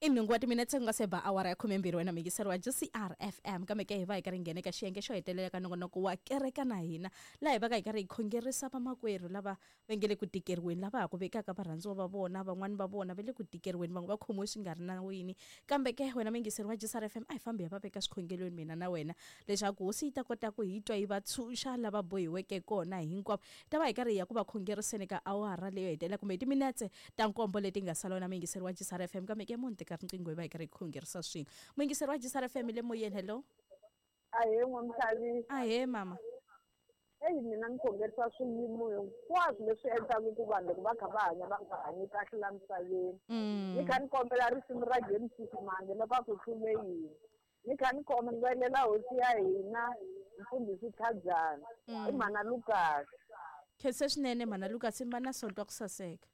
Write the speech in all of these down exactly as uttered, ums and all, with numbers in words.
I nhungu wa timinetse ku nga se ba awara ya khumembirhi wena muyingiseri wa G C R F M kambe ke hi va hi karhi hi nghena eka xiyenge xo hetelela ka nongonoko wa kereka na hina laha hi va ka hi karhi hi khongerisa vamakwerhu lava va nge le ku tikeriweni lava ha ku vekaka varhandziwa va vona van'wani va vona va le ku tikeriweni van'we va khomiwe swi nga ri nawini kambe ke wena muyingiseri wa G C R F M a hi fambi hi va veka swikhongelweni mina na wena leswaku hosi yi ta kota ku hi twa yi va tshunxa lava bohiweke kona hinkwavo hi ta va hi karhi hi ya ku va khongeriseni ka awara leyo hetelela kumbe hi timinetse ta nkombo leti nga sala wena muyingiseri wa G C R F M kambe ke munhu teka riqingho hi va hi karhi hi khongerisa swin'we muyingiseri wa G C R F M le moyeni hello ahee n'wamxavi ahee mama eyi mina ni khongerisa swiyimo hinkwaswo leswi endlaka ku vanhu loko va kha va hanya va nga hanyi kahle la misaveni ni kha ni kombela risimu ra James Simange loko a ku hlume yini ni kha ni kombelela hosi ya hina mfundhisi Tlhajana i mhana Lucas khense swinene mhana Lucas mi va na sonto wa ku saseka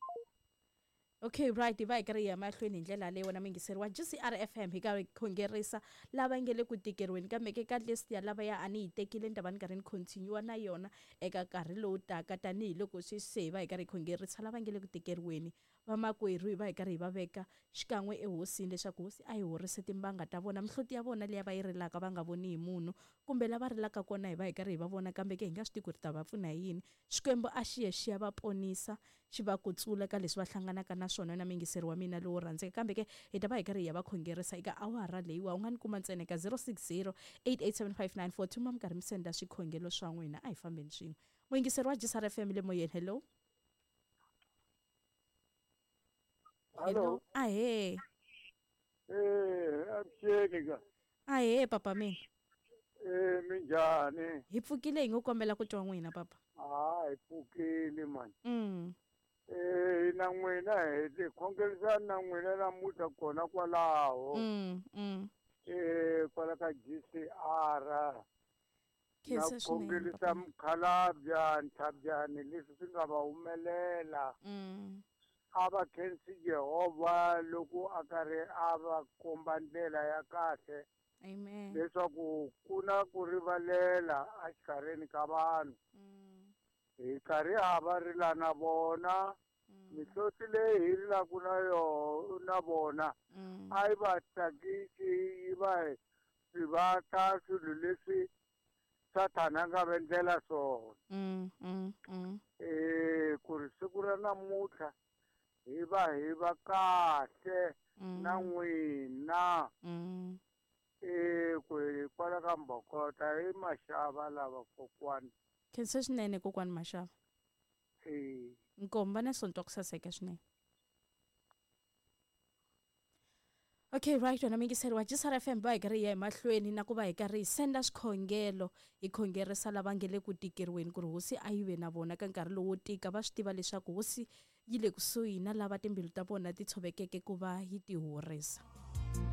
Okay right hi va hi karhi hi ya mahlweni hi ndlela leyi wena muyingiseri wa G C R F M hi karhi hi khongerisa lava nge le ku tikeriweni kambe ke ka list ya lava ya a ni yi tekile ni ta va ni karhi ni continue na yona eka nkarhi lowu taka tanihiloko sweswi se hi va hi karhi hi khongerisa lava nge le ku tikeriweni vamakwerhu hi va hi karhi hi va veka xikan'we ehosini leswaku hosi a yi horise timbanga ta vona mihloti ya vona liya va yi rilaka va nga voni hi munhu kumbe lava rilaka kona hi va hi karhi hi va vona kambe ke hi nga swi tivi ku ri ta va pfuna hi yini Xikwembu a xi ye xi ya va ponisa xi va kutsula ka leswi va hlanganaka na swona na muyingiseri wa mina lowo rhandzeka kambe ke hi ta va hi karhi hi ya va khongerisa eka awara leyiwa u nga ni kuma ntsena eka zero six zero eight eight seven five nine four two ma mi karhi mi senda swikhongelo swa n'wina a hi fambeni swin'we muyingiseri wa G C R F M le moyeni hello Hello. Ahee. Eh, avuxeni ka. Ahee papa mina. Eh, minjhani? Hi pfukile hi ngo kombela ku twa n'wina papa. Ah, hi pfukile mani. Mm. Eh, na n'wina hi ti khongerisana na n'wina namuntlha kona kwalaho. Mm, mm. Eh, kwala ka G C R. Na Khensa swinene khongerisa papa. mukhalabya Nthabyani leswi swi nga va humelela. Mm. A va khensi Jehovha loko a karhi a va komba ndlela ya kahle. Amen. Leswaku ku na ku rivalela exikarhini ka vanhu. Mm. Hi karhi ha va rila na vona. Mm. Mihloti leyi hi rilaka na yona na vona Mm. a yi va tsakisi yi va rivata swilo leswi Sathana a nga va endlela swona. Mm, mm, mm. Eh, ku ri siku ra namuntlha hi va hi va kahle Mm. na n'wina. Mm. Eh, ku hi kwala ka Mbokota hi Maxava lava kokwani. Khensa swinene kokwani Maxava. Eh. Nkomba na sonto ku saseka swinene. Okay right wena muyingiseri wa G C R F M va hi karhi hi ya emahlweni na ku va hi karhi hi senda swikhongelo hi khongerisa lava nge le ku tikeriweni ku ri hosi a yi ve na vona ka nkarhi lowo tika va swi tiva leswaku hosi yi le kusuhi na lava timbilu ta vona ti tshovekeke ku va yi ti horisa.